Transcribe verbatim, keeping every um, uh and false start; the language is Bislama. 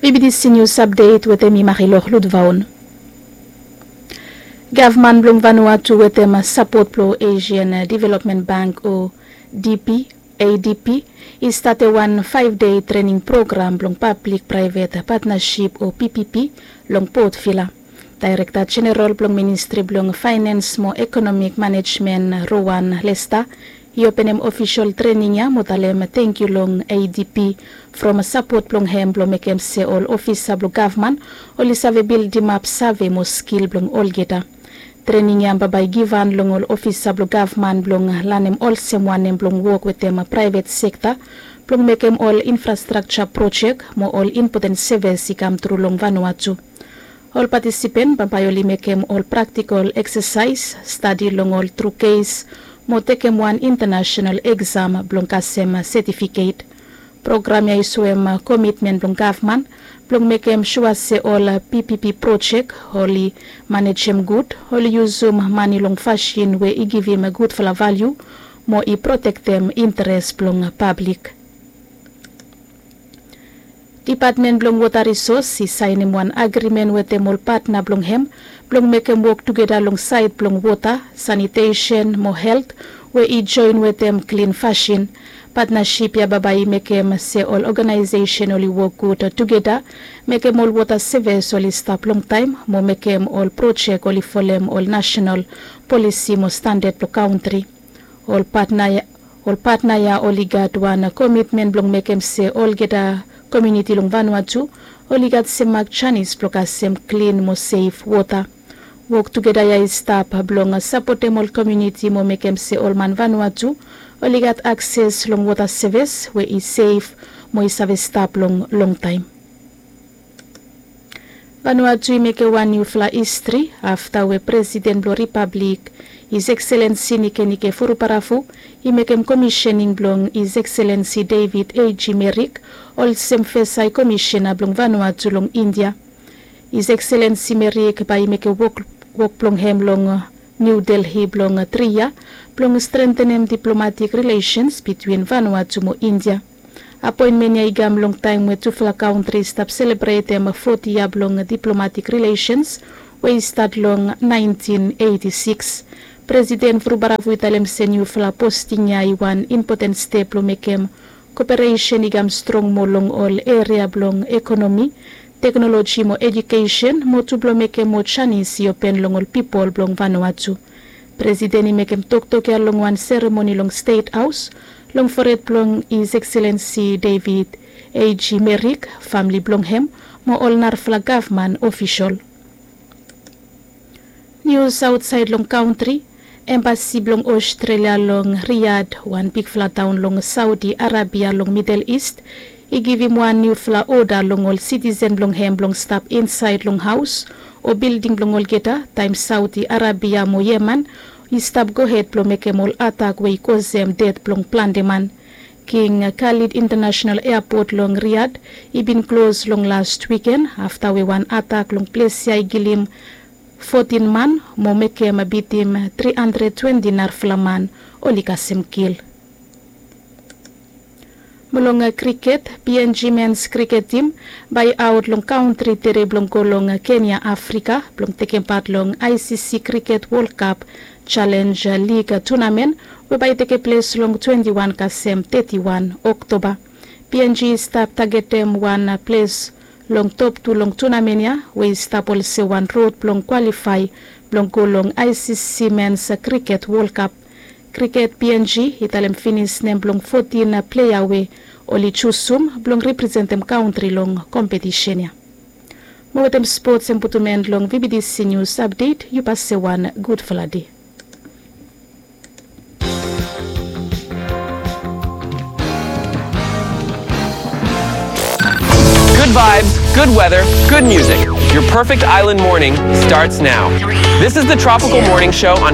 Bibitisi nius apdet wetem i Marilok Lutvaon. Gavman blong Vanuatu wetem sapot blong Asian Development Bank o D P, A D P, i statem wan faef dei trening program blong pablik praevet patnasip o P P P long Port Vila. Daerekta Jeneral blong Ministri blong Faenens mo Ekonomik Manejmen, Rowan Lesta, i openem ofisol trening ya mo talem tangkiu long A D P from sapot blong hem blong mekem se ol ofisa blong gavman oli save bildimap save mo skil blong olgeta. Trening ya bambae i givhan long ol ofisa blong gavman blong lanem olsem wanem blong wok wetem praevet sekta blong mekem ol infrastrakja projek mo ol impoten sevis i kamtru long Vanuatu. Ol patisipen bambae oli mekem ol praktikol eksasaes, stadi long ol tru kes mo tekem wan intanasenal eksam blong kasem setifiket. Program ya i soem komitmen blong gavman blong mekem sua se ol P P P projek oli manejem gud, oli yusum mane long fasin we i givim gudfala valiu mo i protektem interes blong pablik. Dipatmen blong Wota Risos i saenem wan agrimen wetem ol patna blong hem blong mekem wok tugeta long saed blong wota, sanitesen mo helt we i joen wetem klin fasin. Patnasip ya bambae i mekem se ol oganaesesen oli wok gud tugeta, mekem ol wota sevis oli stap longtaem mo mekem ol projek oli folem ol nasenal polisi mo standad blong kantri. Ol patna ya, ol patna ya oli gat wan komitmen blong mekem se olgeta komuniti long Vanuatu oli gat semak janis blong kasem klin mo sef wota. Wok tugeta ya i stap blong sapotem ol komuniti mo mekem se ol man Vanuatu oli gat akses long wota sevis we i sef mo i save stap long longtaem. Vanuatu i mekem wan niufala histri afta we Presiden blong Ripablik, His Excellency Nikenike Vurubaravu, i mekem komisening blong His Excellency David A G Merrick olsem fes Hai Komisena blong Vanuatu long India. His Excellency Merrick bae i mekem wok, wok blong hem long New Delhi blong tri yia blong strentenem diplomatik rilesens bitwin Vanuatu mo India. Apoenmen ya i kam long taem we tufala kantri i stap selebretem foti yia blong diplomatik rilesens we i stat long naentin eiti sikis. Presiden Vurubaravu i talem se niufala posting ya i wan impoten step blong mekem koperesen i kam strong moa long ol eria blong ekonomi, teknoloji mo ejukesen, mo tu blong mekem moa janis i open long ol pipol blong Vanuatu. Presiden i mekem toktok ya long wan seremoni long Stet Haos long fored blong His Excellency David A G Merrick, famle blong hem mo ol narafala gavman ofisol. Nius aotsaed long kantri. Embasi blong Ostrelia long Riyadh, wan bigfala taon long Saudi Arabia long Midel Ist, i givim wan niufala oda long ol sitisen blong hem blong stap insaed long haos o bilding blong olgeta taem Saudi Arabia mo Yemen i stap gohed blong mekem ol atak we i kosem ded blong plante man. King Khalid International Airport long Riyadh i bin klos long las wiken afta we wan atak long ples ya i kilim fotin man mo mekem bitim tri handred twenti narafala man oli kasem kil. Mo long kriket, P N G mens kriket tim bae i aot long kantri tede blong go long Kenya, Afrika blong tekem pat long I C C Kriket Wol Kap Jalenj Lig tunamen we bae i tekeples long twenti wan kasem teti wan Oktoba. P N G i stap tagetem wan ples long top tu long tunamen ya we i stap olsem wan rod blong kwalifae blong go long I C C Mens Kriket Wol Kap. Kriket P N G i talem finis nem blong fotin plea we oli jusum blong representem kantri long kompetisen ya. Mo wetem spots hem putum en long V B T C Nius Apdet, yu pase wan gudfala dei. Good vibes, good weather, good music. Your perfect island morning starts now. This is the Tropical Morning Show on